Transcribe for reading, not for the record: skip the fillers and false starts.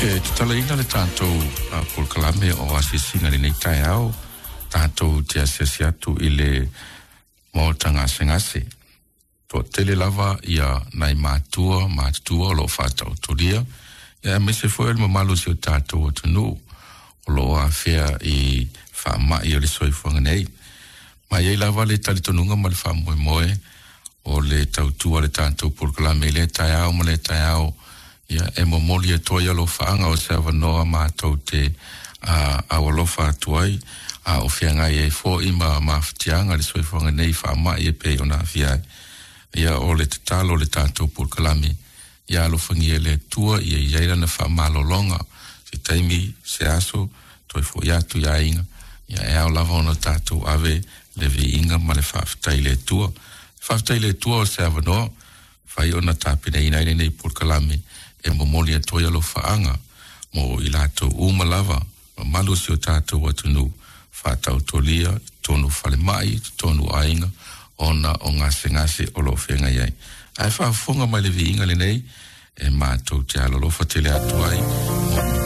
E tatalaina le tatou polokalame o asiasiga i lenei taeao, tatou te asiasi atu i le maota gasegase. Toatele lava ia nai matua matutua o lo o faataotolia, ia aemaise foi o le mamalu o si o tatou atunuu o lo o afea i faamai o le soifuaga nei. Ma e i ai lava le talitonuga ma le faamoemoe o le tautua a le tatou polokalame i lea taeao ma lea taeao, ia e momoli atu ai alofaaga o se avanoa matou te aualofa atu ai, a o feagai ai foi ma mafatiaga le soifuaga nei i faamai e pei ona aafia ai. Ia o le tatalo o le tatou polokalame, ia alofagia e le Atua ia i ai lana faamalologa, se taimi, se aso, toe foi atu i aiga, ia e ao lava ona tatou ave le viiga ma le faafetai i le Atua. Faafetai i le Atua o se avanoa fai ona tapenaina ai lenei polokalame e momoli atu ai alofaaga mo i latou uma lava, mamalu o si o tatou atunuu, faataotolia i totonu o falemai, i totonu o aiga, ona o gasegase o lo o feagai ai. Ae faafofoga mai le viiga lenei e matou te alolofa tele atu ai.